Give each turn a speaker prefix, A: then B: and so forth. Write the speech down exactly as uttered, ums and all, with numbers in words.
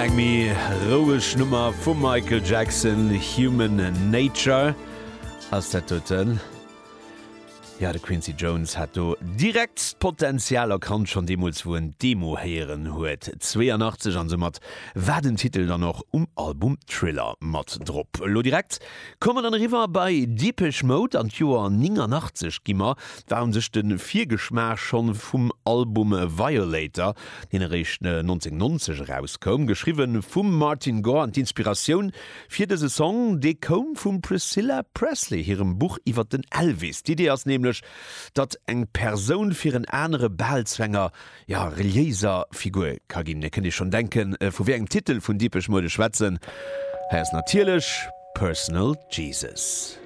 A: Eng méi roueg Nummer vum Michael Jackson, Human Nature ass dat doten. Ja, de Quincy Jones hat do direkt d'Potenzial erkannt, schonn deemools wou en d'Demo héieren huet, zweeanachtzeg, an soumat war den Titel dann och um Album Thriller mat drop. Elo direkt komme mer dann eriwwer bei Depeche Mode, an d'Joer néngannachtzeg gi mer, war un sech de Virgeschmaach schonn vum Album Violator, deen eréischt nonzénhunnertnonzeg erauskoum, geschriwwen vum Martin Gore, an d'Inspiratioun fir dëse Song, dee koum vum Priscilla Presley hirem Buch iwwer den Elvis. D'Idee ass nämlech, datt eng Persoun fir en anere bal zu enger, ja, reliéiser Figur ka ginn. Dir kënnt Iech schonn denken, vu wéi engem Titel vun Depeche Mode ech schwätzen. Hei ass natierlech Personal Jesus.